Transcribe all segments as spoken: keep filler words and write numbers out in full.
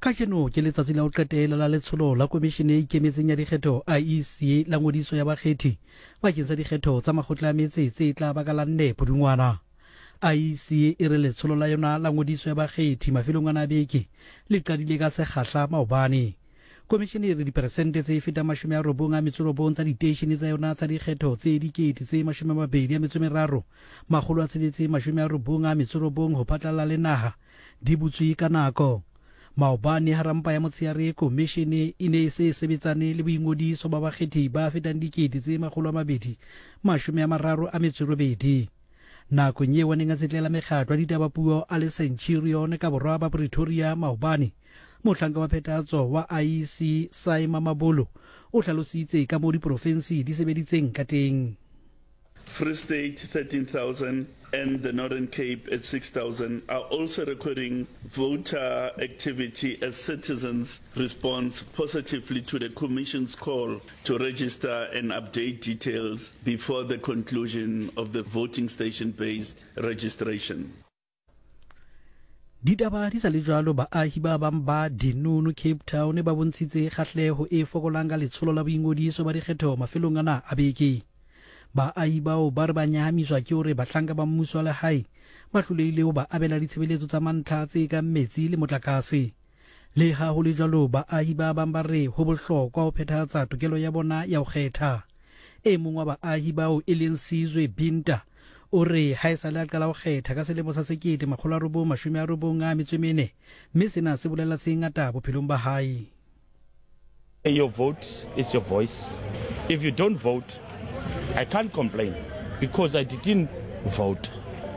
Kajeno ke letsatsi la ho qetela la letsholo la Komishene e Ikemetseng ya Dikgetho, I E C, la ngodiso ya bakgethi bakeng sa dikgetho tsa makgotla a metse tse tla ba ka la nne Pudungwana. I E C e re letsholo la yona la ngodiso ya bakgethi mafelong ana a beke le qadile ka sekgahla maobane. Komishene e re diperesente tse fetang mashome a robong a metso robong tsa diteishene tsa yona tsa dikgetho tse dikete tse mashome a mabedi a metso e meraro makgolo a tsheletse mashome a robong a metso robong ho phatlalla le naha di butswe ka nako. Maobane hara mpa ya motshehare, komishene e ne e se e sebetsane le boingodiso ba bakgethi ba fetang dikete tse makgolo a mabedi mashome a mararo a metso e robedi. Nakong eo a neng a tsetlela mekgatlo ya ditaba puo a le Centurion ka borwa ba Pretoria maobane, mohlanka wa phethahatso wa I E C Saima Mabolo o hlalositse ka moo diporofensi di sebeditseng ka teng. Free State thirteen thousand and the Northern Cape at six thousand are also recording voter activity as citizens respond positively to the Commission's call to register and update details before the conclusion of the voting station-based registration. Ditaba di sa le jwalo, baahi ba bang ba Dunoon, Cape Town, ba bontshitse kgahleho e fokolang ka letsholo la boingodiso ba dikgetho mafelong ana a beke. Baahi bao ba re ba nyahamiswa ke hore bahlanka ba mmuso wa lehae ba hlolehile ho ba abela ditshebeletso tsa mantlha tse kang metsi le motlakase. Leha ho le jwalo, baahi ba bang ba re ho bohlokwa ho phethahatsa tokelo ya bona ya ho kgetha. E mong wa baahi bao, e leng Sizwe Binta, o re ha esale a qala ho kgetha ka selemo sa sekete makgolo a robong mashome a robong a metso e mene, mme sena se bolela tse ngata bophelong ba hae. Your vote is your voice. If you don't vote, I can't complain because I didn't vote.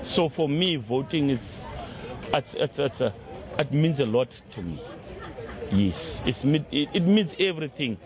So for me, voting is, it's, it's, it's a, it means a lot to me. Yes, it's, it, it means everything.